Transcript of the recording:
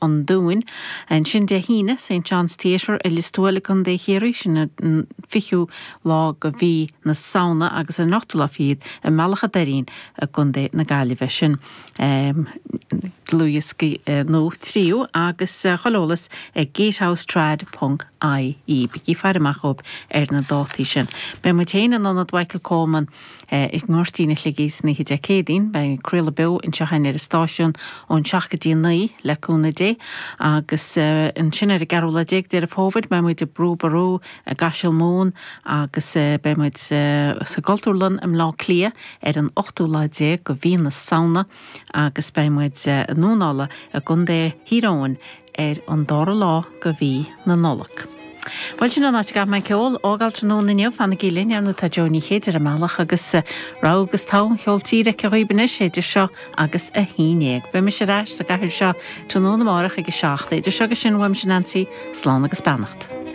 An Dúin. Ansin Dé hAoine, St John's Theatre i Lios Tuathail i gContae Chiarraí, sin an 20ú lá go mhí na Samhna agus ar an ochtú lá fichead i mBealach a' Doirín i gContae na Gaillimhe. Sin dlúthdhioscaí nó tríú agus chuile eolas ag gatehousetrad ponc ie. Bígí ag faire amach dhóibh ar na dátaí sin. Beidh muid féin in Ionad Mhichael Coleman i nGoirtín an Shligigh san oíche Dé Céadaoin. Beidh craoladh beo anseo againn ar an stáisiún ón 7 go dtí 9 le cúnamh Dé agus ansin ar an gceathrú lá déag Deireadh Fómhair beidh muid i Brú Ború i gCaiseal Mumhan agus beidh muid sa gCultúrlann i mBleá Cliath ar an ochtú lá déag go mhí na Samhna agus beidh muid i nDún Uladh i gContae Thír Eoghain ar an dara lá go mhí na Nollag. Bhuel, sin an áit a gcaithfidh mé an ceol a fhágáil tráthnóna inniu. Fanaigí linn, ar ndóigh tá Joe Ní Chéide ar an mbealach agus rogha agus togha an cheoil tíre aici dhaoibh anois idir seo agus a haon dhéag. Beidh mise ar ais sa gcathaoir seo tráthnóna amárach ag a 7. Idir seo agus sin, uaimse Nancy, slán agus beannacht.